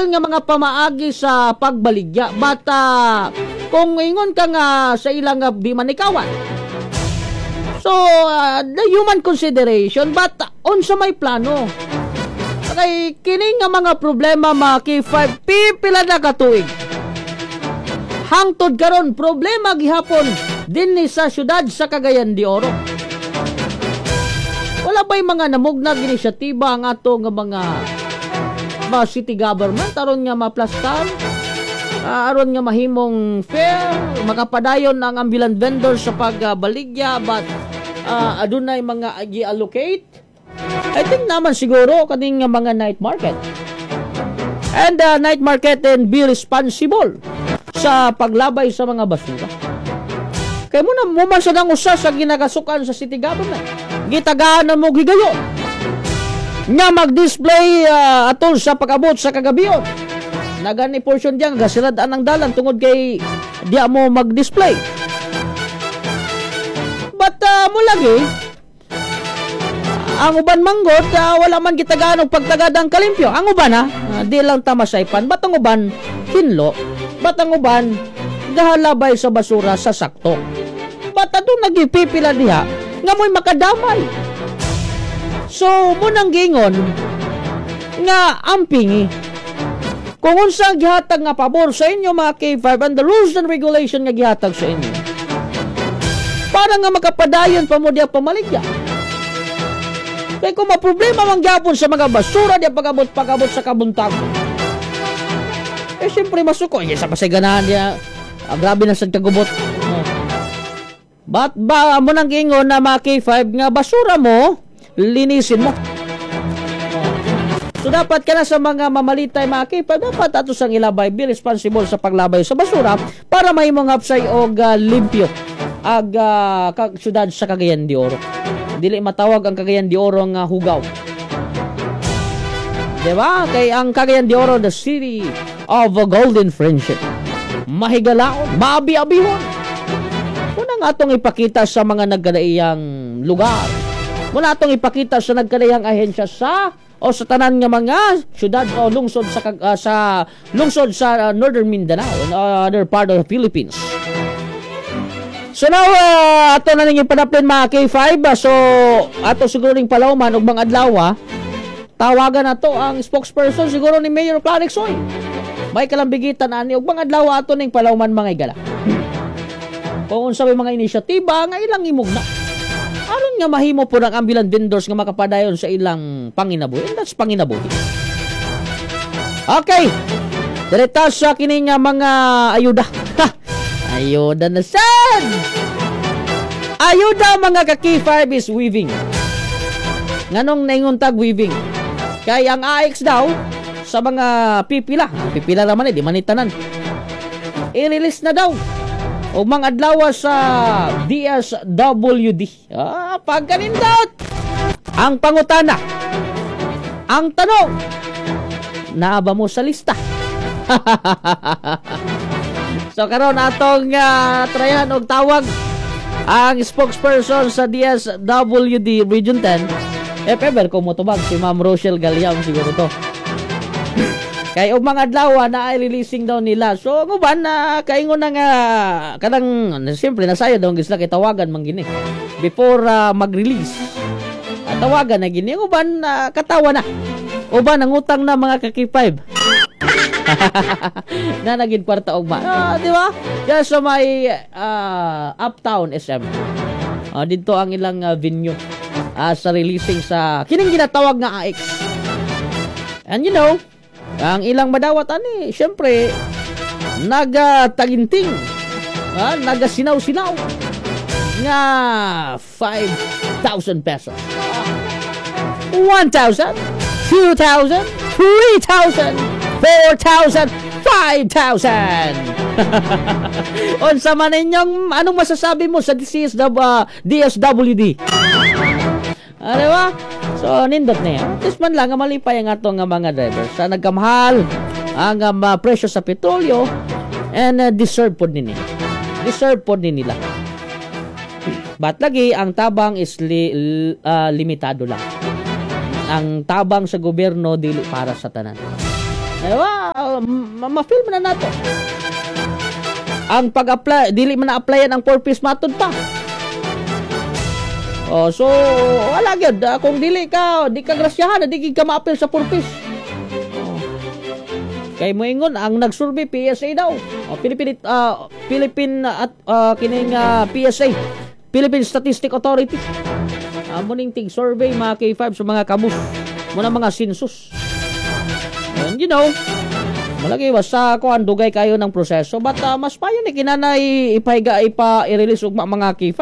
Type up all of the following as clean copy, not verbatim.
Legal nga mga pamaagi sa pagbaligya. But kung ingon ka nga sa ilang nga di man ikawan. So, the human consideration, but unsa may plano? Kay kini nga mga problema, mga K5, pipila na katuig. Hangtod karon problema gihapon dinhi sa syudad sa Cagayan de Oro. Wala ba'y mga namugnag inisyatiba ang ato nga mga city government aron nga maplastar? Aron nga mahimong fair, makapadayon ang ambulant vendors sa pagbaligya, but adunay mga gi-allocate. I think naman siguro kaning nga mga night market. And night market and be responsible sa paglabay sa mga basura. Kay mo na mo man sa nang usa sa ginagasukan sa city government. Gitagaan na mo gigayon nga mag-display atol sa pag-abot sa kagabion. Nagani portion diyan gasirad-an ang dalan tungod kay diya mo mag-display. But mo lagi ang uban manggod, wala man gitagaan og pagtagad ang kalimpyo. Ang uban ha, di lang ta masaypan. But ang uban hinlo, but ang uban gahalabay sa basura sa sakto. But adto nagipipila diha nga mo'y makadamay. So mo nang giingon nga ampingi. Kung unsa ang gihatag nga pabor sa inyo, mga K5, and the rules and regulation nga gihatag sa inyo para nga makapadayon pa mo diya pamaligya. Kay kung maproblema man gyapon sa mga basura diya pag-abot sa kabuntag. Eh siyempre masuko. Eh, sa pasay ganahan diya. Ah, grabe na sa kagubot. Oh. But ba mo nang giingon na mga K5 nga basura mo, linisin mo. So dapat ka na sa mga mamalitay, mga K5, dapat ato sang ilabay, be responsible sa paglabay sa basura para mahimong hapsay og limpyo ag syudad sa Cagayan de Oro. Dili matawag ang Cagayan de Oro nga hugaw. Diba? Kay ang Cagayan de Oro, the city of a golden friendship. Mahigalaon, maabi-abihon. Muna nga atong ipakita sa mga nagkadaiyang lugar. Muna atong ipakita sa nagkadaiyang ahensya sa o sa tanan nga mga syudad o lungsod sa lungsod sa Northern Mindanao and other part of the Philippines. So now, ato na ning ipanapin, mga K5. So, ato siguro ning palawman og mga adlaw, tawagan na to ang spokesperson siguro ni Mayor Clarence Uy. May kalambigitan ani og mga adlaw ato ning palawman, mga igala. Kung unsa may mga inisyatiba nga ilang imugna aron nga mahimo po ng ambulant vendors nga makapadayon sa ilang panginabuhi. And that's panginabuhi. Okay. Direta sa kini nga mga ayuda. Ha! Ayuda na sad! Ayuda, mga ka-K5, is weaving. Nganong naingon tag weaving? Kay ang AX daw sa mga pipila, pipila naman eh, di man ni tanan. I-release na daw o mga adlaw sa DSWD. Ah, pagkanindot! Ang pangutana, ang tanong, naa ba mo sa lista? So karon atong tryan og tawag ang spokesperson sa DSWD Region 10. If ever kung motubag si Ma'am Rochelle Galiam siguro to. Kay og mga adlaw na ay releasing daw nila. So ang uban na kaingon na nga kanang siyempre nasaya daw sila kay tawagan man gini before mag-release. At tawagan na gini ang uban katawa na. Uban ang utang na, mga ka-K5, na naging kwarta ugma. Ah, di ba? Diyan sa may Uptown SM. Dito ang ilang venue sa releasing sa kining ginatawag nga AX. And ang ilang madawat ani, syempre nagataginting, nagasinaw-sinaw nga 5,000 pesos. 1,000, 2,000, 3,000, 4,000, 5,000. Unsa man inyong anong masasabi mo sa DCSW, DSWD? Ano ba? So, nindot na yan. At least man lang, nga malipay ang ato nga mga drivers. Sa nagkamahal ang presyo sa petrolyo and deserve pod nini. Deserve pod ni nila. But lagi, ang tabang is limitado lang. Ang tabang sa gobyerno dili para sa tanan. Diba? Ma-feel man na nato. Ang pag-apply, dili man na-applyan ang 4Ps, matod pa. Oh, so wala gyud. Kung dili ka, di ka grasyahan, di ka ma-appeal sa 4Ps. Oh. Kay moingon ang nagsurvey, PSA daw. Oh, Philippine Philippine at kining PSA, Philippine Statistic Authority. Amo ning tig survey, mga K5, sa mga kabus. Muna mga census. And malagi basta kuan, dugay kayo ng proseso, but mas payo ni kinanay ipahiga, ipa i-release ugma, mga K5.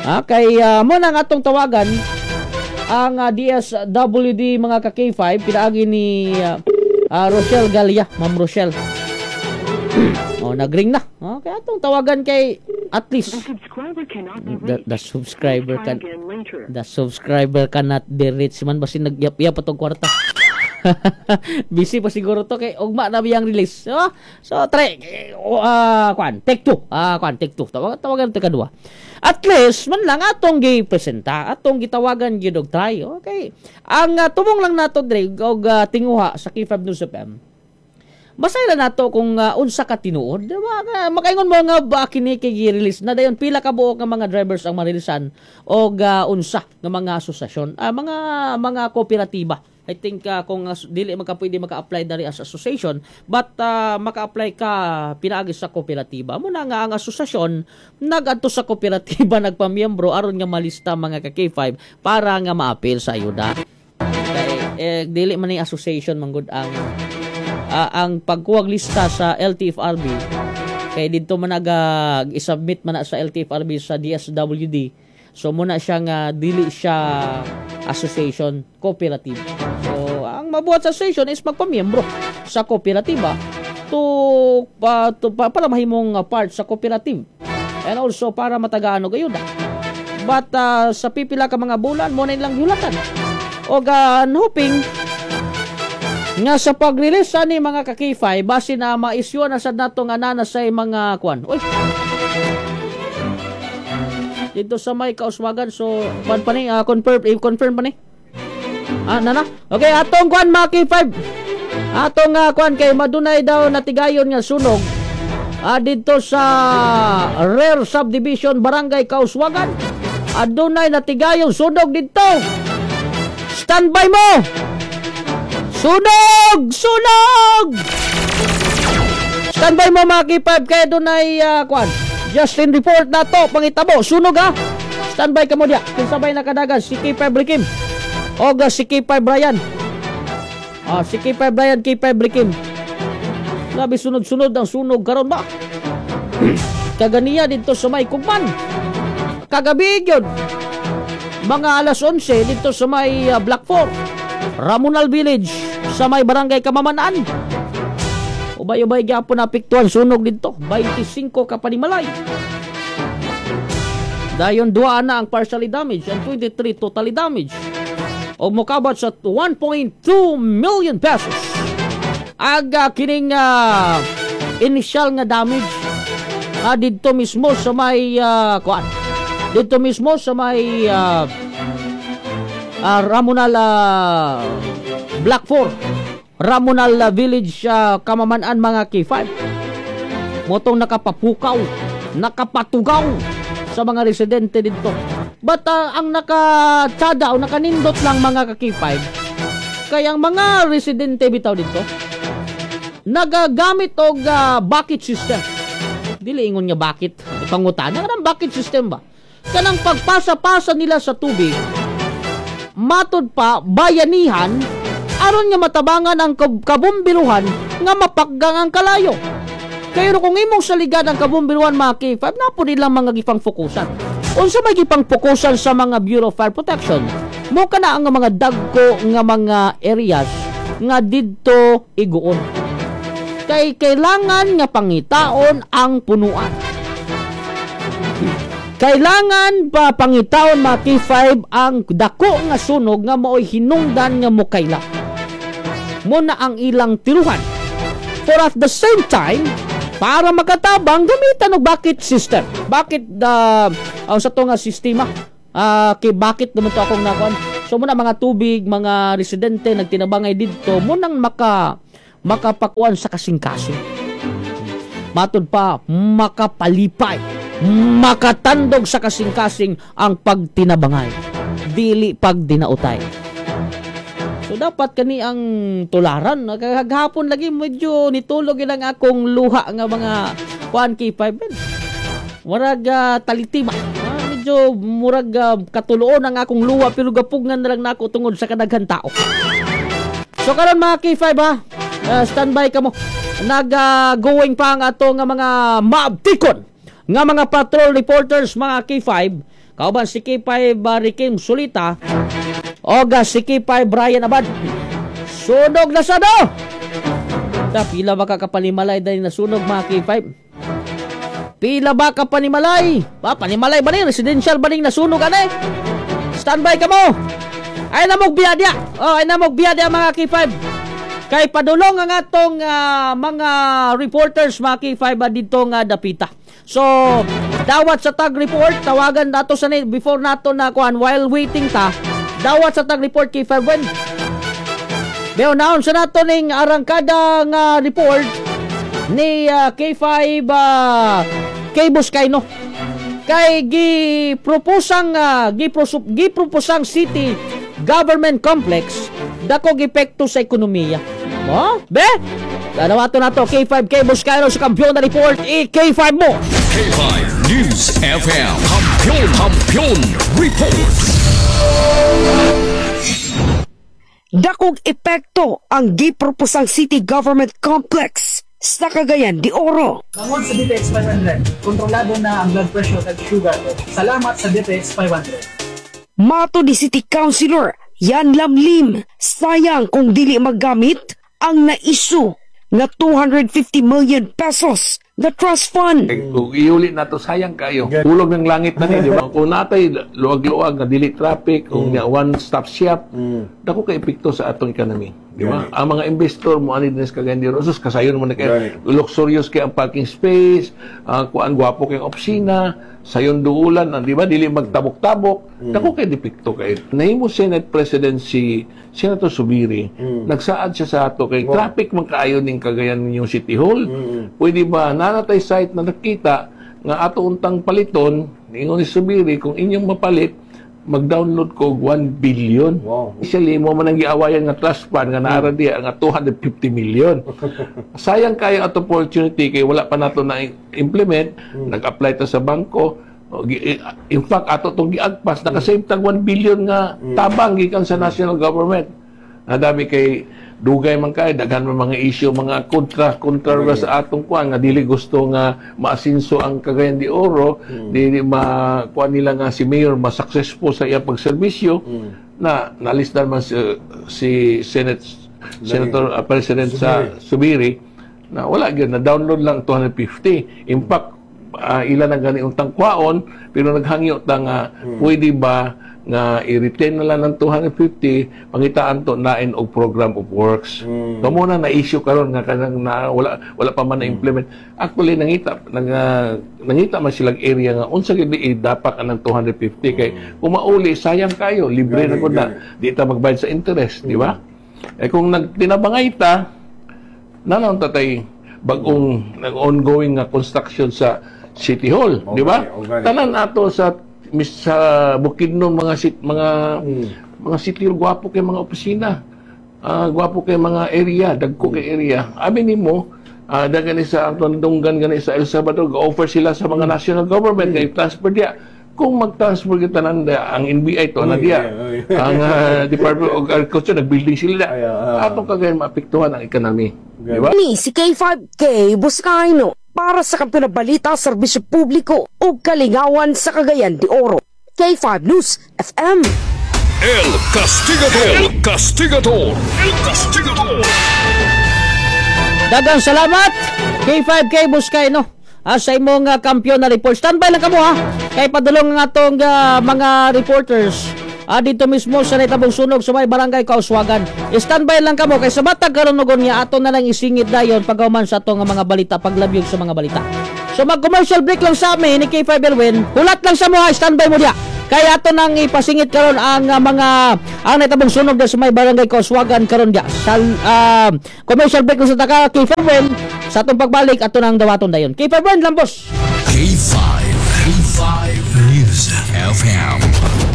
Ah, kay mo na nga atong tawagan ang DSWD, mga ka K5, pinaagi ni Rochelle Galia, Ma'am Rochelle. Oh, nagring na. Okay, atong tawagan kay at least The subscriber cannot be reached. The subscriber Try can again later. The subscriber cannot be reached man, basin nagyap-yap pa tong kwarta. Busy pa siguro to kay ugma na biyang release. So try kuan, take two. Ah, kuan, take two. Tawagan, tawagan ta kadua. At least man lang atong gi-presenta, atong gitawagan gyud og try. Okay. Ang tumong lang nato dre og tinguha sa K5 News FM. Masaya na nato kung unsa ka tinuod, di ba? Makaingon mo nga ba kini kay gi-release na dayon, pila ka buok nga mga drivers ang marilisan og unsa nga mga asosasyon, mga kooperatiba. I think kung dili maka pwede maka-apply dari as association, but maka-apply ka pinaagi sa kooperatiba. Mo na nga ang asosasyon nagadto sa kooperatiba, nagpamiyembro aron nga malista, mga ka K5, para nga maapil sa ayuda. Kay eh, dili man ni association manggod ang pagkuwag lista sa LTFRB, kay didto man naga i-submit man na sa LTFRB, sa DSWD. So muna siya nga dili siya association, cooperative. So ang mabuhat sa association is magpamiyembro sa kooperatiba to para mahimong part sa cooperative and also para matagaan og ayuda. But sa pipila ka mga bulan mo na ilang yulatan og hoping nga sa pag-release ani, mga ka-K5, base na ma-issue na sad nato nga nana sa mga kwan. Uy. Dito sa may Kauswagan, so kwan pa ni, confirm, i-confirm pa ni. Ah, nana. Okay, atong kwan, mga K5. Atong kwan kay madunay daw natigayon nga sunog didto sa Rare Subdivision, Barangay Kauswagan. Adunay natigayon sunog didto. Standby mo! Sunog! Sunog! Standby mo, mga K5, kaya dunay kwan. Justin report na to, pangitabo, sunog ha. Standby ka mo diya. Kinsa bay nakadagan? Si K5 Rikim. O si K5 Brian. Ah, si K5 Brian, K5 Rikim. Grabe, sunod-sunod ang sunog karon ba? Kaganiya dito sa may Kugman. Kagabi gyud. Mga alas 11 dito sa may Block 4, Ramonal Village, sa may Barangay Kamamanaan. Ubay-ubay gyapon naapektuhan sunog dito. 25 ka panimalay. Dayon duha na ang partially damaged and 23 totally damaged. O mokabat sa 1.2 million pesos. Aga kining initial nga damage didto mismo sa may kuan. Didto mismo sa may Ramonal Block 4, Ramonal Village, Kamamanaan, mga K5. Motong nakapapukaw, nakapatugaw sa mga residente dito. But ang nakatsada o nakanindot lang, mga ka-K5, kaya ang mga residente bitaw dito nagagamit og bucket system. Dili ingon nga bucket, ipangutana kanang bucket system ba? Kanang pagpasa-pasa nila sa tubig, matod pa bayanihan aron nga matabangan ang kabumbiruhan nga mapakgang ang kalayo. Kaya kung imong saligan ang kabumbiruhan, mga K5, napo nilang mga gipang fokusan. Unsa may gipang fokusan sa mga Bureau of Fire Protection? Mo kana ang mga dagko nga mga areas nga didto iguon. Kay kailangan nga pangitaon ang punuan. Kailangan pa pangitaon, mga K5, ang dako nga sunog nga maoy hinungdan nga mokaylap. Mo na ang ilang tiruhan. For at the same time, para makatabang, gamitan og bucket system. Bucket ang sa to nga sistema. Kay bucket naman to akong nakuan. So muna mga tubig, mga residente nagtinabangay didto, mo nang maka Makapakuan sa kasing-kasing. Matud pa, makapalipay, makatandog sa kasing-kasing ang pagtinabangay, dili pagdinautay. So dapat kani ang tularan. Kagahapon lagi medyo nitulog ilang akong luha nga mga kuan, K5 ben. Murag talitima. Medyo murag katuloon ang akong luha pero gapugngan na lang nako tungod sa kadaghan tao. So karon, mga K5 ha, standby kamo. Nag going pa ang ato nga mga maabtikon nga mga patrol reporters, mga K5. Kauban si K5 Rikim Sulita o si K5 Brian Abad. Sunog na sa do! Ta, pila ba ka kapanimalay dahil nasunog, mga K5? Pila ba ka panimalay? Pa, panimalay ba ni? Residential ba ning nasunog ane? Standby ka mo! Ay namog biya diya! Oh, ay namog biya diya, mga K5. Kay padulong ang atong mga reporters, mga K5, dito nga dapita. So, dawat sa tag report, tawagan nato sa ni before nato na kuan, while waiting ta. Dawat sa tag report, K5 when. Beo naon sa nato ning arangkada nga report ni K5 K Buscayno. Kay gi-proposang City Government Complex dako epekto sa ekonomiya. Mo? Be? Dalawato na to K5 K Buscayno sa kampiyon na report, i K5 mo. K5 News FM. Kampiyon, Kampiyon Report. Dakog epekto ang giproposang City Government Complex sa Cagayan de Oro. Bangod sa DTX 500, kontrolado na ang blood pressure at sugar ko. Salamat sa DTX 500. Mato ni City Councilor Yan Lamlim, sayang kung dili maggamit ang na-issue na 250 million pesos na trust fund. Eh, kung iuli na to, sayang kayo. Hulog ng langit na ni, di ba? Kung natay luwag-luwag nga dili traffic, kung one stop shop, dako kay epekto sa atong economy. Di ba? Ang mga investor mo ani din sa Cagayan de Oro, sus, kasayon mo na kay luxurious kay ang parking space, kuan, gwapo kay ang opisina, sayon duulan, di ba? Dili magtabok-tabok. Dako kay epekto kay. Nahimo Senate President si Senator Zubiri, nagsaad siya sa ato kay traffic man kaayo ning Cagayan ninyong City Hall. Pwede ba nanatay site na nakita nga ato untang paliton, ingon ni Zubiri, kung inyong mapalit, mag-download ko og 1 billion. Actually, mo man ang giawayan nga trust fund nga naara diya nga 250 million. Sayang kayo at opportunity kay wala pa nato na implement, nag-apply ta sa bangko. O, in fact, ato tong giagpas, nakasave tag 1 billion nga tabang gikan sa national government. Nadami kay dugay man kay daghan man mga issue, mga kontra kontra ra sa atong kuan nga dili gusto nga maasinso ang Cagayan de Oro, dili ma kuan nila nga si mayor ma successful sa iyang pagserbisyo na nalisdan man si Senate Senator President sa Zubiri na wala gyud na download lang 250. In fact, ilan ang gani untang kwaon pero naghangyo ta nga pwede ba nga i-retain na lang ng 250, pangitaan to nain og program of works. So mo na na-issue karon nga kanang na wala wala pa man na-implement. Actually, nangita man silang area nga unsa gid idapak anang 250 kay kung mauli, sayang kayo, libre na gud na, di ta magbayad sa interest, di ba? Eh kung nagtinabangay ta, nanaon tatay bagong ongoing nga construction sa City Hall, di ba? Okay. Tanan ato sa mis sa Bukidnon, mga city hall, gwapo kay mga opisina. Gwapo kay mga area, dagko kay area. Abi nimo, gani sa Anton Dunggan, gani sa El Salvador, ga-offer sila sa mga national government kay transfer diya. Kung mag-transfer kita nan ang NBI to na diya. Ang Department of Agriculture, nag-building sila. Ay, ah. Atong Cagayan maapektuhan ang economy. Di ba? Ni si K5K Buscayno para sa Kampiyon ng Balita, Serbisyo Publiko ug Kalingawan sa Cagayan de Oro. K5 News FM. El Castigador. El Castigador. El Castigador. Daghang salamat K5K Buscayno. Sa imong kampiyon na report. Standby lang kamo ha. Kay padulong ang atong mga reporters dito mismo sa nahitabong sunog sa may barangay Kauswagan. Standby lang kamo kay sa matag karon niya ato na lang isingit dayon paghuman sa atong mga balita, paglabyog sa mga balita. So mag-commercial break lang sa amin ni K5 Elwin. Hulat lang sa mo ha, standby mo diya. Kaya ato nang ipasingit karon ang mga ang nahitabong sunog sa may barangay Kauswagan karon dia. Sa commercial break sa taka kay Ferwen sa atong pagbalik ato nang dawaton dayon. Kay Ferwen Lambos. K5, K5 News FM,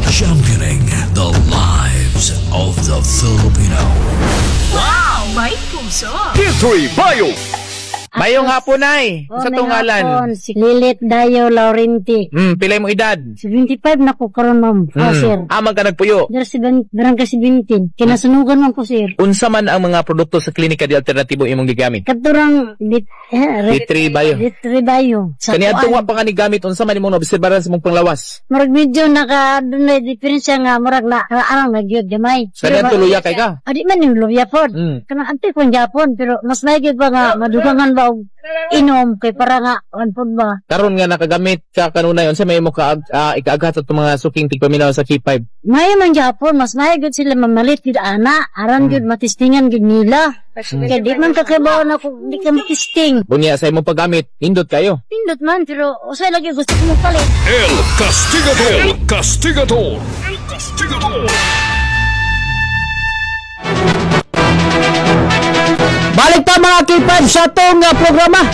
championing the lives of the Filipino. Wow! May puso! K3 Bio. Mayong hapon ay. Oh, Sa may tungalan. hapon. Si Lilit Dayo Laurenti. Pilay mo edad. 75 na ko karon, ma'am. Oh, sir. Amang ka nagpuyo. Dara si barangay 17. Kinasunugan man ko, sir. Unsa man ang mga produkto sa Klinika de Alternatibo imong gigamit? Katurang dit, eh, D3 Bio. D3 Bio. Sa Kaniadto kuan. wa pa ka ni gamit, unsa man imong naobserbaran sa imong panglawas? Murag medyo naka dunay diferensya nga murag na arang na gyud gamay. Sa niadto luya kay ka? Adi man yung luya pod. Kanang ante kon Japon pero mas may gyud ba nga madugangan ba og inom kay para nga on pod ba. Karon nga nakagamit ka kanunay, unsa may imo ka ikaaghat sa atong mga suking tigpaminaw sa K5? Maayo man Japon, mas maayo gyud sila mamalit gyud ana, aran gyud matistingan gyud nila. Kay di man kakabaw na kung di ka matisting. Unya sa imong paggamit, nindot kayo. Pindot man pero usay lagi gusto ko palit. El Castigador. El Castigador. El Castigador. Balik ta mga K5 sa atong programa.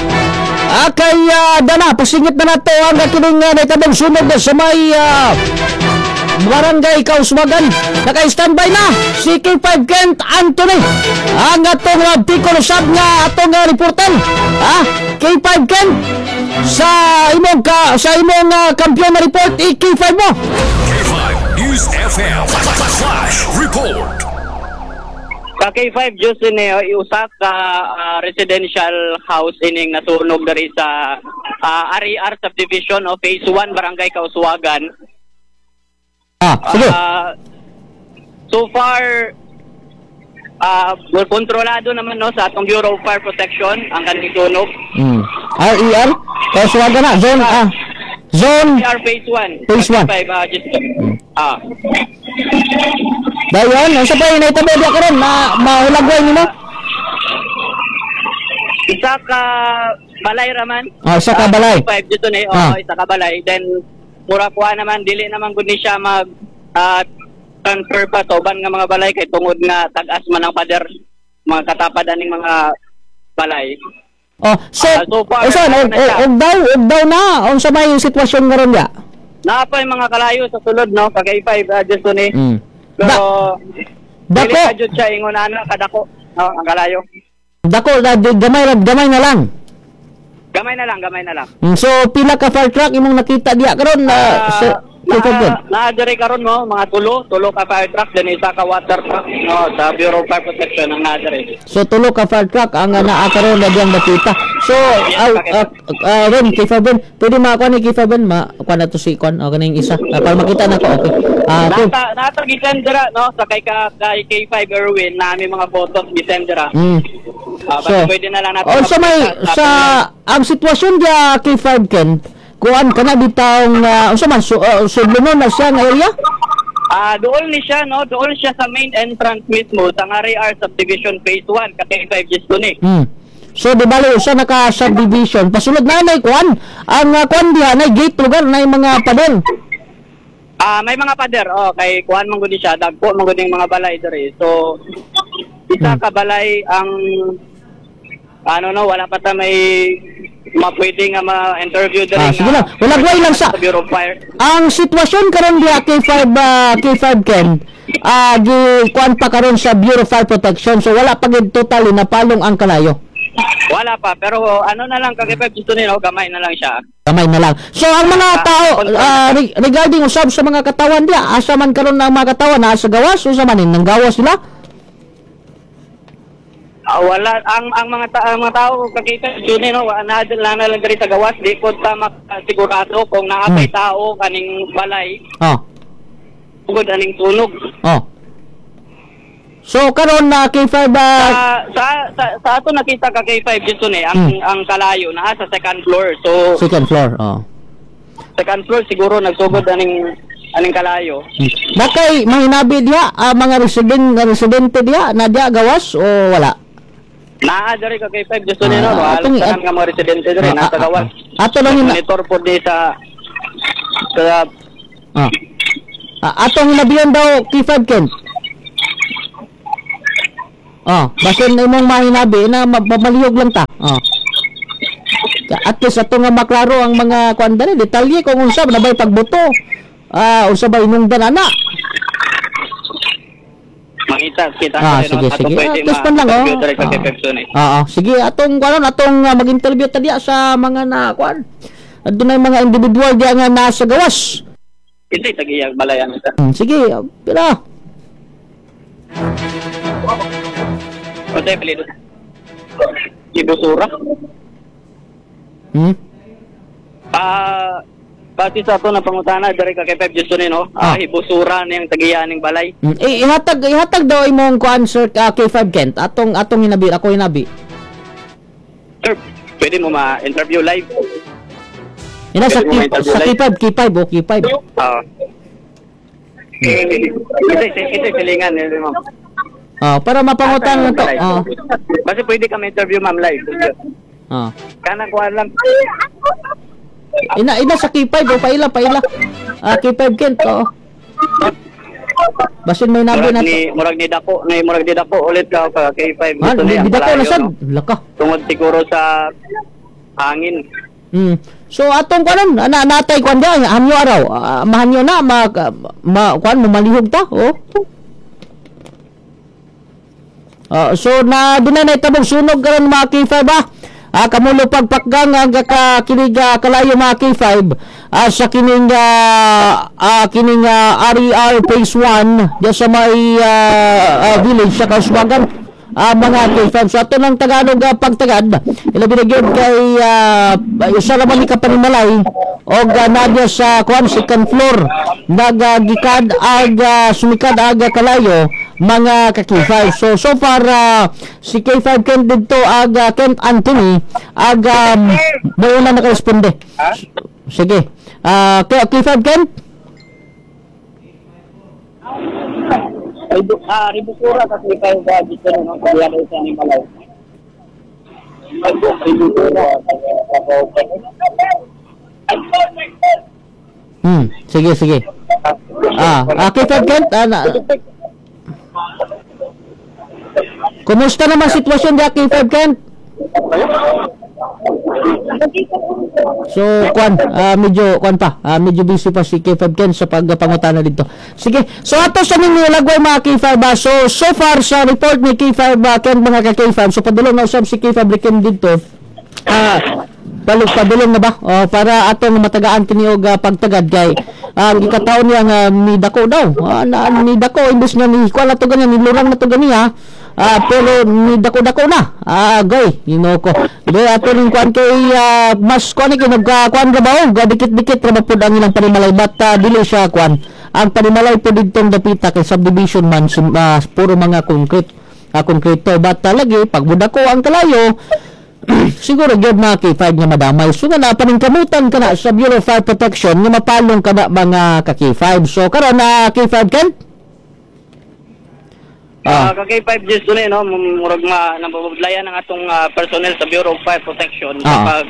Kay dana pasingit na nato ang kining nahitabong sunog sa may Barangay Kauswagan. Naka-standby na si K5 Kent Anthony. Ang atong Bicol Sub nga atong reporter. K5 Kent sa imong kampiyon na report i-K5 mo. K5 News FM. Flash Report. Sa K5 Diyos ini usa ka residential house ining nasunog diri sa RER subdivision o Phase 1 Barangay Kauswagan. Sige. So far kontrolado naman no sa atong Bureau of Fire Protection ang kaning sunog. RER Kauswagan na zone zone RER Phase 1. Phase 1. K5 Diyos. Dayon, unsa pa yung nahitabo diya karon na mahulagway nimo? Isa ka balay raman. Isa ka balay. 5 dito ni, isa ka balay. Then mura kuha naman dili naman gud ni siya mag transfer pa sa uban nga mga balay kay tungod nga tag-as man ang pader mga katapad aning mga balay. Oh, so, So far, usa ano na siya? og daw na unsa may sitwasyon karon diya? Naa pa yung mga kalayo sa sulod no, kay K5 dito ni. Pero Dako. dili pa jud siya ingon ana kadako no, ang kalayo. Dako na gamay na lang. Gamay na lang, gamay na lang. So pila ka fire truck imong nakita diya karon na sa K5 Kent? Naa diri karon mo mga tulo ka fire truck then isa ka water truck no sa Bureau of Fire Protection ang naa diri. So tulo ka fire truck ang naa karon na diyang nakita. So Ren K5 Ben, pwede makakuha ni K5 Ben ma kuha na to si kuan o kaning isa para makita na ko okay. Okay. Nata gisend dira no sa kay kay K5 Erwin na aming mga photos gisend dira. So, pwede na lang natin. sa may sa ang sitwasyon diya K5 Ken, kuan kana bitawng unsa man sudlonon na siya nga area? Dool ni siya no, dool siya sa main entrance mismo sa RAR Subdivision Phase 1 ka K5 Gisto ni. So di bale usa na ka subdivision pasulod na nay kuan ang kuan diha nay gate lugar nay mga pader. May mga pader oh kay kuan man gud ni siya, dagko man gud yung mga balay diri. So isa ka balay ang ano no, wala pa ta may mapwede nga ma-interview diri. Sige lang. Walagway lang sa Bureau of Fire. Ang sitwasyon karon diha K5 Ken, gi kuan pa karon sa Bureau of Fire Protection. So wala pa gid totally napalong ang kalayo. Wala pa, pero ano na lang ka K5 gusto nila, gamay na lang siya. Gamay na lang. So ang mga tao regarding usab sa mga katawan diha, asa man karon ang mga katawan naa sa gawas unsa man nang gawas sila? Wala ang mga ang mga tao kakita yun no, wala na lang diri sa gawas, di ko ta makasigurado kung naa pay tao kaning balay. Tungod aning sunog. So karon na K5 Sa ato nakita ka K5 dito ni ang kalayo naa sa second floor. So second floor, oh. Second floor siguro nagsugod aning kalayo. Nakay mahinabi diha mga residente diha na diha gawas o wala? Naa diri ka K5 gusto ni no, wala tanan nga mga residente diri nasa gawas. Ato lang monitor po di sa Atong hinabihan daw K5 Ken. Oh, basin na imong mahinabi na mamalihog lang ta. Oh. At least ato nga maklaro ang mga kuan dali detalye kung unsa na bay pagbuto. Unsa ba inungdan ana? Makita kita Sige, no? sige. Pwede At least man lang, oh. ma-interview kay Pepson eh. Oo, sige, atong kuan, atong mag-interview ta diya sa mga na kuan. Adunay mga individual diya nga nasa gawas. Hindi tagiyag balayan ta. Sige, pila. Unsay apelyido? Ibusura. Base sa ato na pangutana diri ka kay Pep Justin, no? Ibusura niyang tagiya ning balay. Eh, ihatag daw imong kuan, sir, K5 Kent. Atong hinabi, ako hinabi. Sir, pwede mo ma-interview live. Ina sa Pwede mo ma-interview sa live? K5, K5, oh, K5. Oo. Ito silingan eh, ma'am. Para mapangutan na to. Basta pwede ka ma-interview, ma'am, live. Kanang kuan lang. Ina sa K5, oh, paila. K5 Kent, oh. Basin may nabi na to. Murag ni dako ulit ka ka K5. Ha, Gusto niya, di dako na malayo, sad. no? Laka. Tungod siguro sa hangin. So atong kuan ana natay kuan dia hanyo araw. Mahanyo na ma kuan mo malihog ta, oh. So na dunay na itabong sunog karon mga K5 ah. Kamulo pagpakgang ang kakinig kalayo mga K5 sa kining kining RER Phase 1 diya sa may village sa Kauswagan. Mga K5. So ato ng Tagalog pagtagad ilabi na gyud kay usa ra man ni ka panimalay og nadya sa kuan second floor nagagikad ag sumikad ag kalayo mga ka K5. So far si K5 Kent didto ag Kent Anthony ag mauna nakaresponde. Sige. K5 Kent? Ribusura kasi kayo ba dito no kaya daw sa ning balay. Ribusura. Sige. K5 Kent, kumusta naman sitwasyon diya K5 Kent? So kuan, medyo kuan pa, medyo busy pa si K5 Ken sa pagpangutana dito. Sige. So ato sa ninyo lagway mga K5. So far sa report ni K5 Ken mga ka K5, so padulong na usab si K5 Ken dito. Padulong na ba? Para atong matagaan kini og pagtagad kay ang gikataon niya nga ni dako daw. Ni dako imbes nga ni kuan na to ganyan, ni lurang na to ganiya. Pero ni dako-dako na. Goy, ginoo ko. Di ato ning kuan kay mas kuan ni nagkuan ra ba oh, dikit-dikit ra ba pud ang ilang panimalay, but dili siya kuan. Ang panimalay pud didtong dapita kay subdivision man puro mga concrete, konkreto, but lagi pag mudako ang kalayo siguro gyud mga K5 nga madamay. So nga na paningkamutan ka na sa Bureau of Fire Protection nga mapalong ka na mga ka K5. So karon na K5 Ken? Ka K5 just no, no, murag ma nababudlayan ang atong personnel sa Bureau of Fire Protection sa pag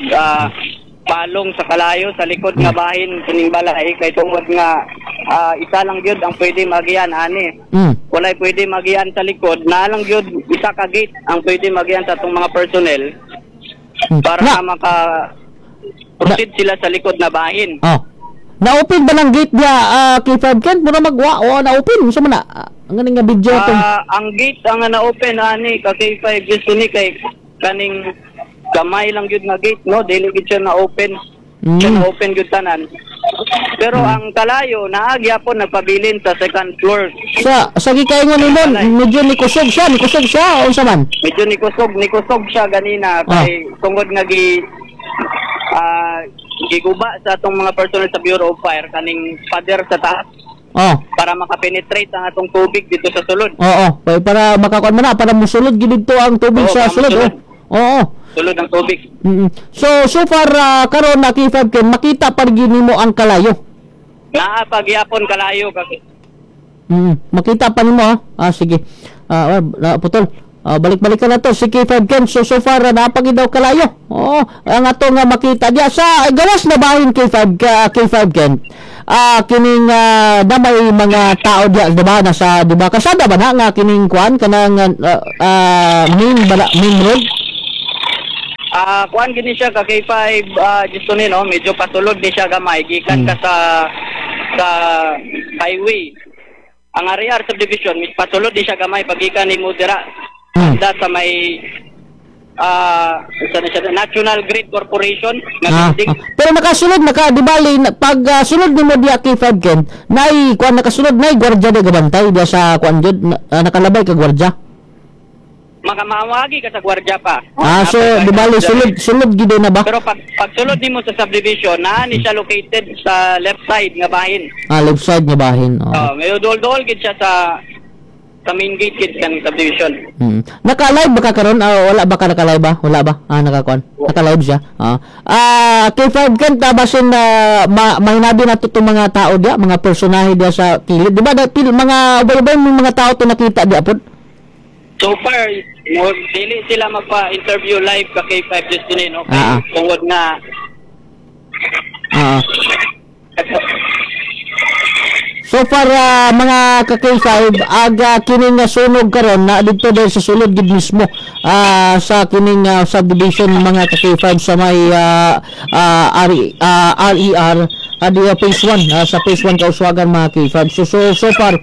palong sa kalayo sa likod nga bahin kining balay kay tungod nga isa lang gyud ang pwede magian ani. Walay pwede magian sa likod, naa lang gyud isa ka gate ang pwede magian sa atong mga personnel para na maka proceed sila sa likod na bahin. Oh. Na-open ba ng gate niya K5 Ken? Mura magwa o na-open unsa man na? Ang ganing nga video to. Ang gate ang na-open ani ka K5 gusto ni kay kaning gamay lang gyud nga gate, no, dili gyud siya na-open. Siya na-open gyud tanan. Pero ang kalayo naa gyapon nagpabilin sa second floor. Sa gikaingon nimo medyo nikusog siya o unsa man? Medyo nikusog siya ganina kay tungod nga gi giguba sa atong mga personnel sa Bureau of Fire kaning pader sa taas. Para makapenetrate ang atong tubig dito sa sulod. Oo, para makakuan man na, para musulod gid dito ang tubig sa sulod. Oo. Sulod ang tubig. So far karon na K5 Ken makita pa gyud nimo ang kalayo. Naa pagyapon kalayo kasi. Makita pa nimo ha. Sige. Putol. Balik-balik ka na to si K5 Ken. So far naa pa gyud daw kalayo. Oo, ang ato nga makita diya sa gawas na bahin K5 K5 Ken. Kining na may mga tao diya, di ba, nasa, di ba, kasada ba na nga kining kuan kanang main ba, main road? Kuan gini siya ka K5 gusto ni no, medyo pasulod ni siya gamay gikan ka sa highway. Ang RER subdivision mis pasulod ni siya gamay pagikan nimo dira. Sa may National Grid Corporation nga building. Pero nakasulod naka di bali pag sulod nimo diya K5 Ken, nay kuan nakasulod nay gwardiya di gabantay diya sa kuan jud, nakalabay ka gwardiya. Makamawagi ka sa gwardiya pa. So di bali sulod gid na ba? Pero pag sulod nimo sa subdivision, naa ni siya located sa left side nga bahin. Left side nga bahin. Oh, medyo dol-dol gid siya sa main gate gid kaning subdivision. Naka-live ba ka karon? Wala ba ka naka-live ba? Wala ba? Nakakuan. Naka-live siya. K5 Ken, basin mahinabi na to mga tao diya, mga personahe diya sa kilid. Di ba mga ubay-ubay mga tao to nakita diya pod? So far, dili sila magpa-interview live ka K5 just din, no? Kay tungod nga So far, mga ka-K5, aga kining sunog karon na dito dahil sa sulod gid mismo sa kining subdivision mga ka-K5 sa may RER adi phase 1, sa phase 1 Kauswagan mga K5. So far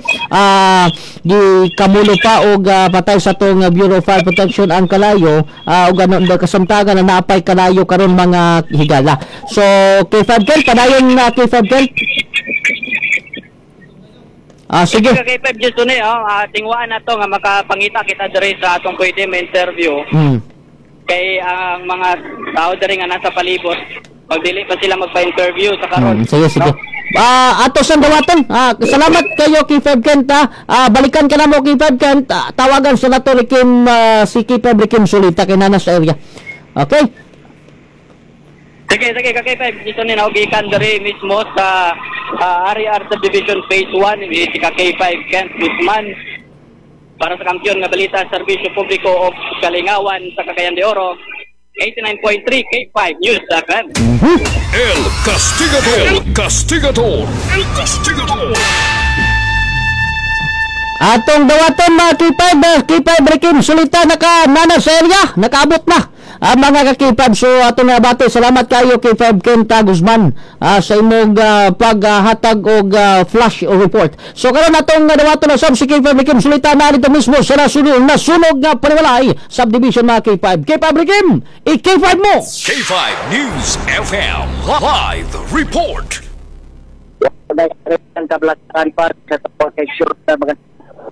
gi kamulo pa og patay sa tong Bureau of Fire Protection ang kalayo, og ano kasamtangan na naapay kalayo karon mga higala. So K5 Ken, padayon na K5 Ken. Sige. K5 just ni tingwaan na to nga makapangita kita diri sa atong pwede ma-interview. Kay ang mga tao diri nga nasa palibot, pag dili pa sila magpa-interview sa karon. Sige, sige. Ato sang dawaton. Salamat kayo K5 Kent. Balikan ka na mo K5 Kent. Tawagan sa nato ni Kim, si K5 Kim Sulita kay nana sa area. Okay? Sige, sige, K5. Dito ni naugikan diri mismo sa RER Subdivision Phase 1 si K5 Kent Guzman para sa kampiyon nga balita serbisyo publiko og kalingawan sa Cagayan de Oro. 89.3 K5 News FM. El Castigador, El Castigador, El Castigador. Atong dawaton mga K5, K5 Rekim Sulita naka nana sa area, nakaabot na ang mga ka-K5. So atong nabati, salamat kayo K5 Kenta Guzman sa imong paghatag og flash report. So karon atong dawaton na sab si K5 Rekim Sulita na dito mismo sa nasunog nga panimalay subdivision mga K5. K5 Rekim, i-K5 mo. K5 News FM Live Report. Ang kablakan pa sa protection sa mga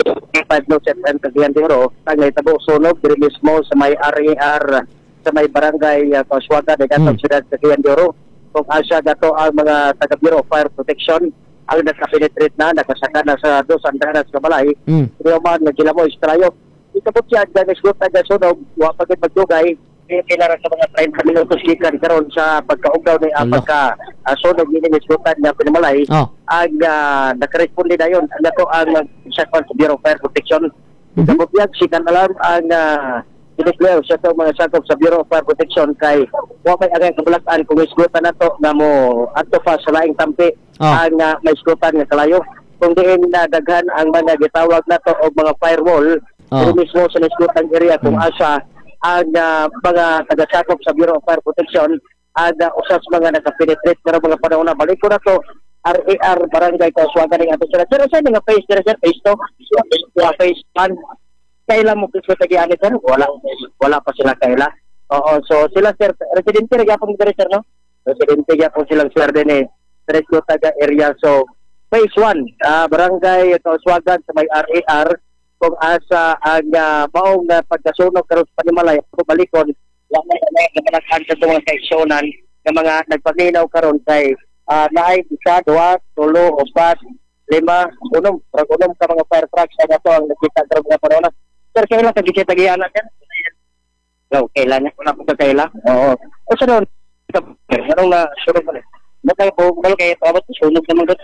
K5 News FM Cagayan de Oro, ang nahitabo sunog diri mismo sa may RER sa may barangay Kauswagan de siyudad Cagayan de Oro. Kung asa gato ang mga taga Bureau of Fire Protection ang nakapenetrate na, nakasaka na sa dos andanas ka balay. Pero man nagilamo istrayo. Ikabot siya ang isgot ang sunog, wa pa gid magdugay kailangan sa mga 30 minutos gikan karon sa pagkaugdaw ni pagka sunog ini isgutan nga pinamalay. Ang nakaresponde dayon ang ato ang sa Bureau of Fire Protection. Kabutiyag sikan alarm ang dineclare sa atong mga sakop sa Bureau of Fire Protection kay wa may angay kabulat-an kung isgutan nato nga mo adto pa sa laing tampi ang may isgutan nga kalayo. Kung diin na daghan ang mga gitawag nato og mga firewall diri mismo sa isgutan area kung asa ang mga tagasakop sa Bureau of Fire Protection ang usas mga nakapenetrate pero mga panahon na balik ko na to RAR Barangay Kauswagan ning ato sila. Sir, sa nga phase diri sir, phase 2, phase 1. Kaila mo piso tagiani sir? Wala pa sila kaila. Oo, so sila sir, residente ra gyapon diri sir, no? Residente gyapon silang sir dinhi. Tres taga area. So phase 1, Barangay Kauswagan sa may RAR kung asa ang maong pagkasunog karon sa panimalay ako balikon wa may naman sa mga kaeksyonan nga mga nagpaminaw karon kay naay 1, 2, 3, 4, 5, 6 rag unom ka mga fire trucks ang ato ang nakita karon nga panahon. Sir, kailan ka gikita giana sir? Go, kailan wala po ka kaila? Oo. O sa doon anong na sunog man? Nakay po balo kay abot sunog naman gud.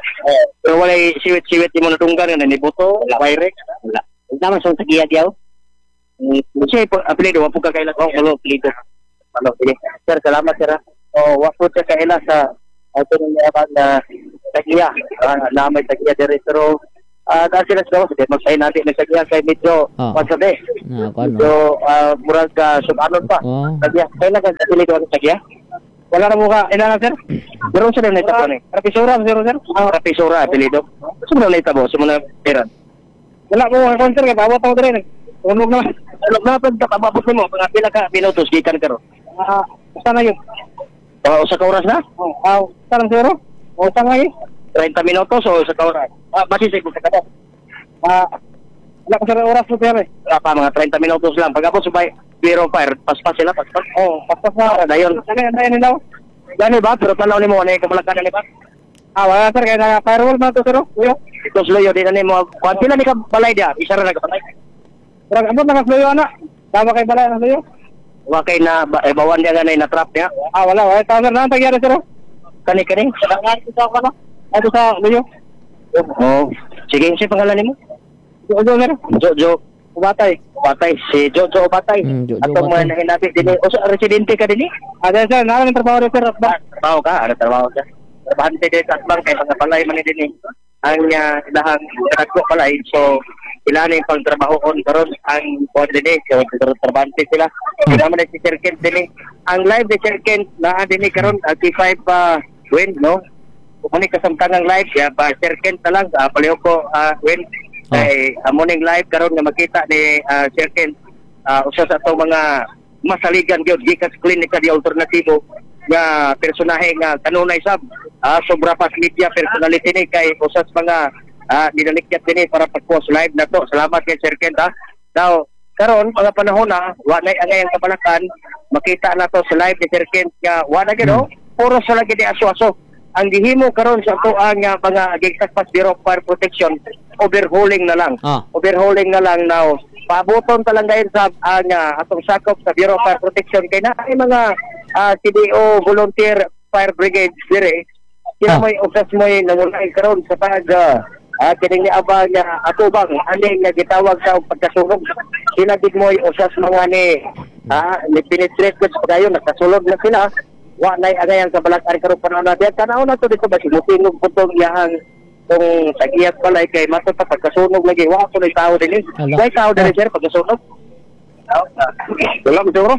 Pero walay siwit-siwit nimo nadunggan nga nibuto, wire. Wala. Naman sa tagiya diaw. Siya po apelido wa po ka kaila. Oh, malo apelido. Malo sige. Sir, salamat sir. Oh, wa po ka kaila sa ato ni na tag-iya. Na may tag-iya diri pero dahil sila sa gawas, di magsahin natin may tag-iya kay medyo kwan sabi. Na kuan. Medyo murag subanon pa. Tag-iya. Kailan ka dili ko ang tag-iya? Wala na mukha. Ina na, sir? Pero sila na itabo ni. Rapisura, sir, sir? Rapisura, apelido. Sino na itabo? Sino na pera? Wala mo mga konser kay paabot ako diri. Tunog na. Tunog na pag kapabot nimo, mga pila ka minutos gikan karon? Usa na yun. Usa ka oras na? Usa lang siguro. Usa nga eh. 30 minutos o usa ka oras? Basi sa usa ka oras. Wala ko sir oras mo sir eh. Wala pa, mga 30 minutos lang. Pag abot sa Bureau Fire, paspas sila, paspas. Oh, paspas na. Dayon. Ano daw? Gani ba? Pero tanaw nimo ano yung kamalakan ni ba? Wala sir, kaya na firewall man to sir. Kuya. Ito sluyo din na nimo. Kuan pila ni ka balay dia? Isa ra na ka balay. Murag ambot na ka sluyo ana. Tama kay balay na sluyo. Wa kay na bawan dia ganay na trap niya. Wala, wala tama sir, nang tagyari sir. Kani kani. Sa ko na. Ato sa luyo. Oh, sige, si pangalan nimo? Jojo sir. Jojo Ubatay. Ubatay, si Jojo Ubatay. Jojo Atong Ubatay. mga nahinabi dinhi. O sa residente ka dinhi? Sir, naa ng trabaho sir. Trabaho ka, ano trabaho ka? Trabahante din sa atbang kay mga balay man ni dinhi. Ang ilahang kadagko balay. So ila ni pang trabaho on karon ang kuan dinhi, so trabahante sila. Sila man ni si Sir Kent dinhi. Ang live ni Sir Kent naa dinhi karon T5 win no. Kung ni kasamtangang live ya pa Sir Kent na lang palihog ko win. Kay amo ning live karon nga makita ni Sir Kent usa sa atong mga masaligan gyud gikan sa klinika di alternatibo nga personahe nga kanunay sab sobra pa sa media personality ni kay usa sa mga dinalikyat dinhi para pag-post live na to. Salamat kay Sir Kent ha. Now karon mga panahon na wa nay angay ang kabalakan makita na to sa live ni Sir Kent nga wa na gyud puro sa lagi ni aso-aso. Ang gihimo karon sa ato ang mga gigsakpas Bureau of Fire Protection, overhauling na lang. Overhauling na lang now. Paaboton ta lang gayon sa ang atong sakop sa Bureau of Fire Protection kay na ay mga CDO volunteer fire brigade dire. Sila mo'y usas mo'y nangulay karon sa pag kining niabang atubang aning nga gitawag sa pagkasunog. Sila gid mo'y usas mga ni ni penetrate gud sa pagayon, nakasulod na sila. Wa nay angay ang kabalak-an karon panahon na diyan. Tanaw na to dito ba simutingog po tong iyahang tong tagiyat balay kay mato pa pagkasunog lagi wa ko nay tao dinhi. Way tao dinhi sir pagkasunog. Wala ko siguro.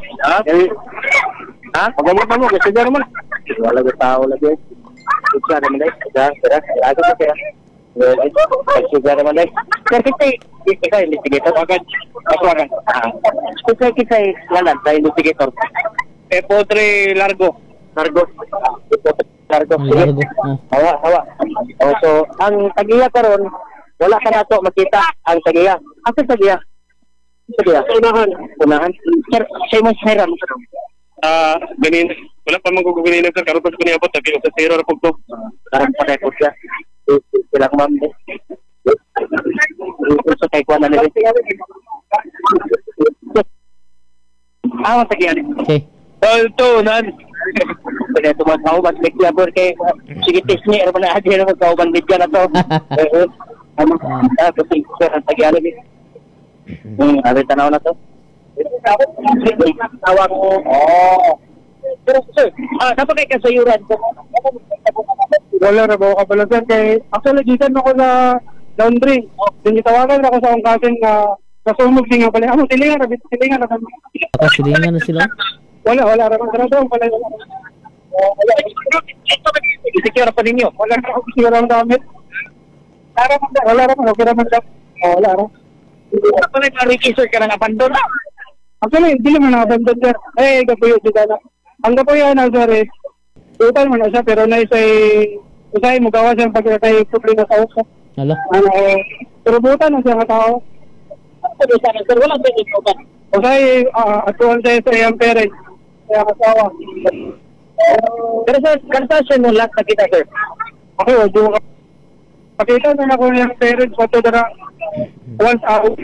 Ha? Paggamot mo kasi siguro man. Wala ko tao lagi. Siguro naman dai. Sir, ako ko kaya. Siguro naman dai. Sir, kita ikaw investigator agad. Ako agad. Kita kita wala sa investigator. Epotre Largo. Largo. Largo. Largo. Hawa, hawa. Oh, so ang tagiya karon wala ka nato makita ang tagiya. Asa tagiya? Tagiya. Unahan. Unahan. Sir, say mo sir. Ganin wala pa man ko ganin sir karon pa ko niabot kay sa zero ra pud to. Karon pa kay pud siya. Silang ma'am. So kay kuan na nila. Tagiya. Okay. Ito, nan. Pwede ito magkauban media bro kay sige test ni ano na adi na magkauban media na to. Ano kasi sir ang tagiya ni. Abi tanaw na to. Tawag ko. Oh. Pero sir, dapat kay kasayuran ko. Wala ra ba ka pala sir kay actually gikan ako sa laundry. Din gitawagan ako sa akong cousin nga kasunog din nga pala. Amo silingan ra silingan ra. Silingan na sila. Wala ra man sarado pala. Isecure pa ninyo. Wala ra ako siguro ang gamit. Wala ra man okay ra man. Wala ra. Wala pa register ka ng abandon. Actually, hindi naman na-abandon sir. Eh, gapuyo dito na. Ang gapuyo na sir is, total man na siya, pero na isa'y, usay mo gawa siya pag kay problema sa uso. Hala. Ano, pero butan na siya nga tao. Sir, walang pwede ko ba? Usay, atuan siya sa iyang parents, sa iyang asawa. Pero sir, kansa siya mo lahat nakita sir? Okay, o, di mo ka. Pakita na ako niyang parents, pato na once out,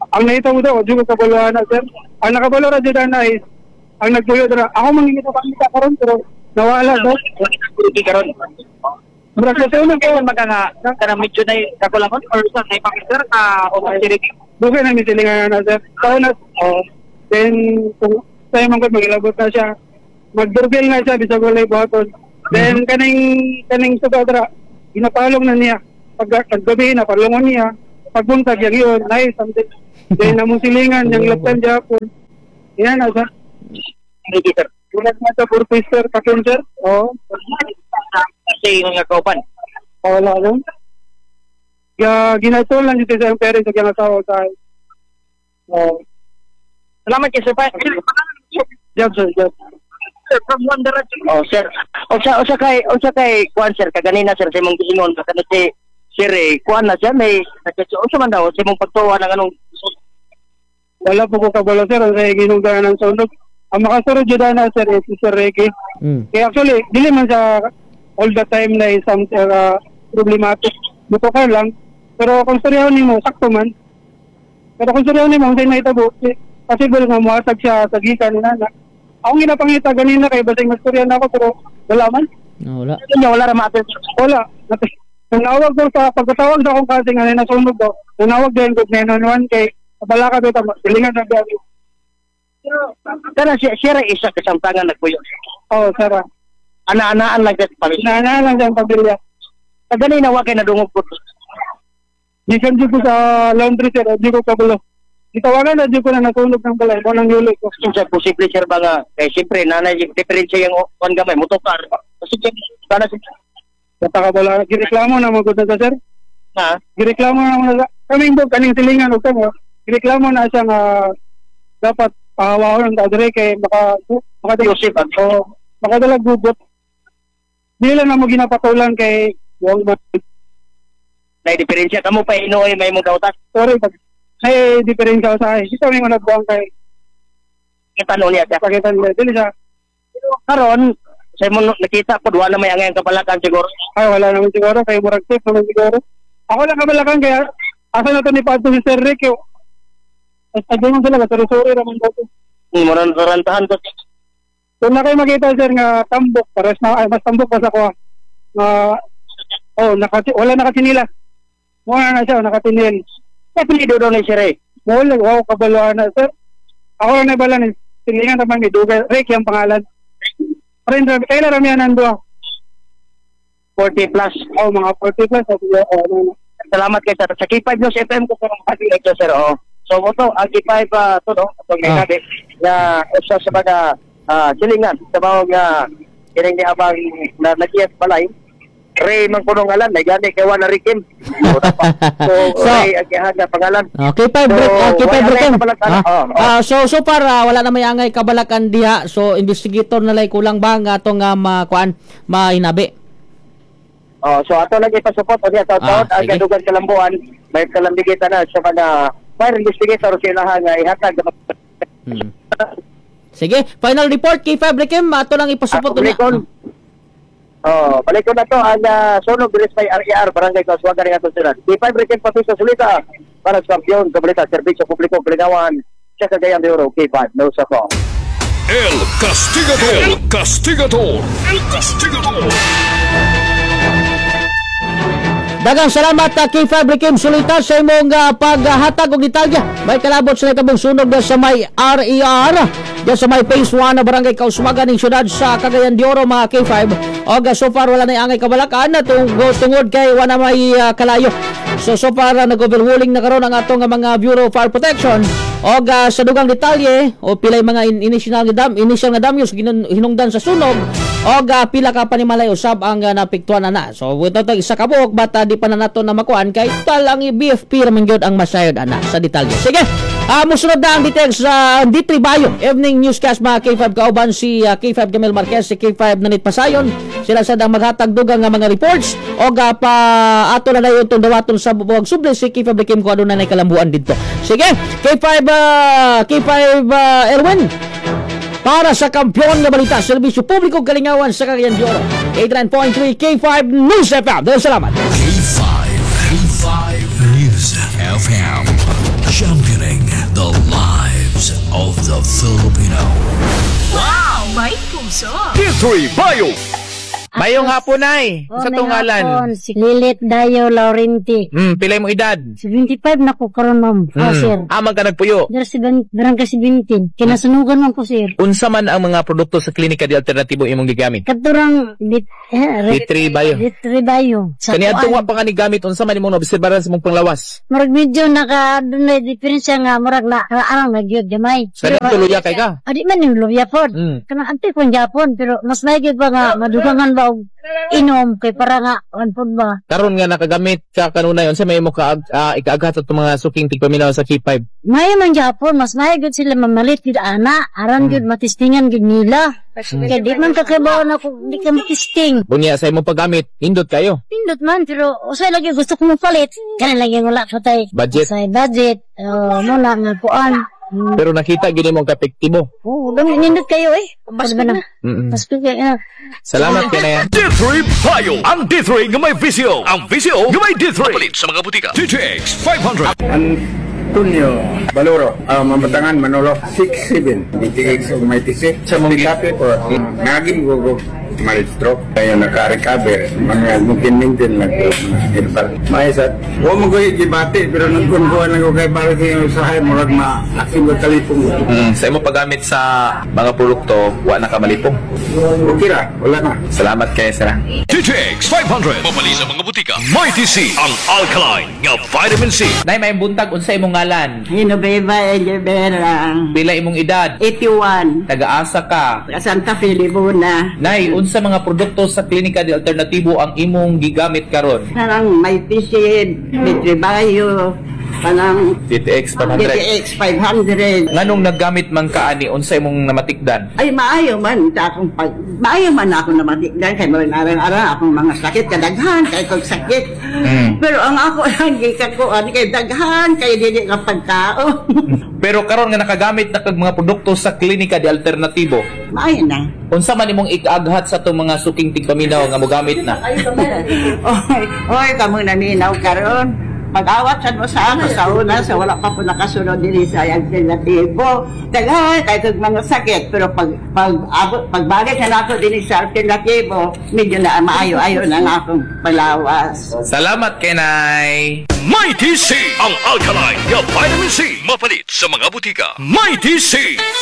ang nakita mo daw, di ko kabalo na sir. Ang nakabalo ra dyan na is, ang nagtuyo dra. Ako mangingita pa kita karon pero nawala daw. Hindi karon. Murag kasi unang kayo maganga kanang medyo na kakulangon or sa nay pakisir ka o masirig. Dugay na misilingan na sir. Tao na oh, then kung sa imong ko magilabot na siya. Mag-doorbell na siya bisag walay buhaton. Then kaning suga dra ginapalong na niya. Pag paggabi na palungon niya, pagbuntag yang yun, nice something. Then namong silingan yang laptan japon. Yan na siya. Sige, sir. Bulag na sa purpose sir, kapin sir. Oo. Kasi yung nga kauban. Wala lang. Ya, ginatol lang dito sa parents sa kiyang asawa sa. Oo. Salamat kay sir. Job sir, job. Sir, from One Direction. Oh, sir. Unsa kay kuan sir kaganina sir sa imong giingon baka na si sir eh, kuan na siya may unsa man daw sa imong pagtuwa ng anong Wala po ko kabalo sir, ang sa ginugdan ng sunog. Ang makasurod jud na sir is si Sir Ricky. Kaya actually, dili man sa all the time na isang problematic. Buto ka lang. Pero kung storyahon nimo, sakto man. Pero kung storyahon nimo, kung sa'yo nahitabo, possible nga muhatag siya sa gikan ni nana. Akong ginapangita ganina kay basing mastorya na ako pero wala man. No, wala. Wala, wala ra ma-appeal. Wala. Nanawag ko sa pagkatawag sa akong kasi nga nasunog daw. Nanawag din ko 911 kay bala ka dito, silingan sa biyahe. Kana siya siya ra isa kasamtangan nagpuyo. Oh, sara. Ana-anaan lang sa pamilya. Ana-anaan lang sa pamilya. Kaganina wa kay nadungog ko. Gikan jud ko sa laundry sir, di ko kabalo. Gitawagan na jud ko na nasunog ng balay, mo nang yuli ko. Unsa posible sir ba nga kay siyempre nanay diferensya yung kuan gamay motokar. Kasi kana si Basta kabalo, gireklamo na mo gud na sir. Ha? Gireklamo na mo na kaming bug kaning silingan og kamo. Gireklamo na siya nga dapat pahawahon ang tao dire kay maka maka oh, makadalag gugot. Dili lang na mo ginapatulan kay wong man. Nay diferensya kamo pa inuoy may mong dautan. Sorry pag may diferensya sa ay. Ito may mga nagbuang kay kita niya siya. Pakita niya dili siya. Karon sa imong nakita po wala may angay ang kabalakan siguro. Ay wala naman siguro kay murag safe naman siguro. Ako lang kabalakan kaya asa na to ni Padto si Sir Rick. As mo sila sorry sorry raman daw. Murang rantahan ko. So na kayo makita sir nga tambok pares na ay mas tambok pa sa kuha. Nga oh naka wala nakatinila. Wala na siya nakatinil. Apelyido daw ni Sir Ray. Wala wow kabalo na sir. Ako lang nabala ni silingan naman ni Dugay Rick yung pangalan. Rin kailan ramihan ang duha. 40 plus. Oh, mga 40 plus. Oh, ano. Salamat kay sir. Sa K5 News FM ko sir ang ito sir. Oh. So mo to ang K5 to no atong ah. Na usa sa mga silingan sa bawang kining ni abang na nagiyat balay. Ray man kunong ngalan, may gani kay wala Rikim. So, so Ray ang gihan nga pangalan. Okay, so, break, okay, five break. So so far wala na may angay kabalakan diha. So investigator na lay kulang ba nga atong makuan mahinabi. Oh, so ato lang ipasupport unya sa taon ang gadugan kalambuan, may kalambigitan na sa mga fire investigator sila nga ihatag. Sige, final report kay K5 Rikim, ato lang ipasupport unya. Oh, balik ko na to ang sunog bilis may RER Barangay Kauswagan ng atong syudad. K5 Rikim Papiso Sulita para sa kampiyon sa serbisyo publiko Kalingawan sa Cagayan de Oro. K5 no sa ko. El Castigador, El Castigador, El Castigador. Daghang salamat K5 Rikim Sulita sa imong paghatag og detalye. May kalabot sa nahitabong sunog sa may RER diyan sa may Phase 1 na Barangay Kauswagan ning syudad sa Cagayan de Oro mga K5. Og so far wala na angay kabalakan tungod kay wala may kalayo. So far nag-overhauling na karon ang atong mga Bureau of Fire Protection. Og sa dugang detalye o pilay mga initial nga damyos hinungdan sa sunog og pila ka panimalay usab ang napiktuan na. So wito isa ka buok bata di pa na nato na makuan kay tal ang BFP ra man gyud ang masayod ana sa detalye. Sige. Musunod na ang details sa D3 Bayo Evening Newscast mga K5 kauban si K5 Camille Marquez, si K5 Nanit Pasayon. Sila sad ang maghatag dugang nga mga reports og pa ato na dayon tong dawaton sa buwag subli si K5 Kim kung aduna nay kalambuan didto. Sige, K5 Erwin para sa kampiyon nga balita serbisyo publiko Kalingawan sa Cagayan de Oro. 89.3 K5 News FM. Daghang salamat. K5 News FM, championing the lives of the Filipino. Wow! May puso! D3 Bio! Mayong hapon, Nay. Oh, Sa may tong ngalan? hapon, si Lilit Dayo Laurenti. Pila mo edad? 75 na ko karon, ma'am. Oh, sir. Amang ka nagpuyo? Dara si barangay 17. Kinasunugan man ko, sir. Unsa man ang mga produkto sa Klinika de Alternatibo imong gigamit? Katurang dit eh, D3 Bio. D3 Bio. Sa Kaniadtong kuan. wa pa ka ni gamit, unsa man imong naobserbaran sa imong panglawas? Murag medyo naka dunay diferensya nga murag na arang na gyud gamay. Sa dito luya kay ka? Adi man yung luya pod. Kanang antay kong Japon, pero mas may gyud ba nga madugangan ba og inom kay para nga an pod ba. Karon nga nakagamit ka kanunay, unsa may imo ka ikaaghat sa atong mga suking tigpaminaw sa K5? Maayo man Japon, mas maayo gyud sila mamalit gyud ana, aron gyud matistingan gyud nila. Kay di man kakabaw na kung di ka matisting. Bunya sa imong paggamit, nindot kayo. Pindot man, pero usay lagi gusto ko mopalit. Kana lagi wala sa tay. Budget. Usay budget. Oh, mo na nga kuan. Pero nakita gyud nimo ang kapektibo. Oh, dami nindot kayo eh. Pasko na. Pasko kayo. Salamat kay Nay. D3 Bio. Ang D3 nga may VCO. Ang VCO nga may D3. Palit sa mga butika. DTX 500. Antonio Baluro, Mamatangan Manolo, 67, DTX ug may TC. Sa mong kape ko, naging gugo mal-stroke kaya naka-recover mga mungkin-mungkin lang ko mga herbal may sa wa mo ko gibati pero nagkunkuan lang ko kay para sa usahay murag ma aking ko talipong. Sa imo paggamit sa mga produkto, wa na ka malipong. Okay ra, wala na. Salamat kay sir. DTX 500. Mapali sa mga butika. Mighty C. Ang alkaline nga vitamin C. Nay, may buntag, unsa imong ngalan? Hinubeba Elibera. Pila imong edad? 81. Taga-asa ka? Taga Santa Fe, Libuna. Nay, unsa mga produkto sa Klinika de Alternatibo ang imong gigamit karon? Parang may pisid, may tribayo, parang DTX 500. DTX 500. Nganong naggamit man ka ani, unsa imong namatikdan? Ay, maayo man sa akong pag maayo man ako namatikdan kay arang-arang akong mga sakit kadaghan kay kog sakit. Pero ang ako lang gikakuan kay daghan kay dili ka pagkao. Pero karon nga nakagamit na kag mga produkto sa Klinika de Alternatibo, Maayo na. unsa man imong ikaaghat sa atong mga suking tigpaminaw nga mogamit na? Oy, oy, kamo naminaw karon. Pag-awat sad mo sa ako sa una sa wala pa po nakasunod diri sa alternatibo. Daghan kay kog mga sakit, pero pag pag abot pagbalik na nako dinhi sa alternatibo, medyo na maayo-ayo na ang akong palawas. Salamat kay Nay. Mighty C. Ang alkaline nga vitamin C. Mapalit sa mga butika. Mighty C.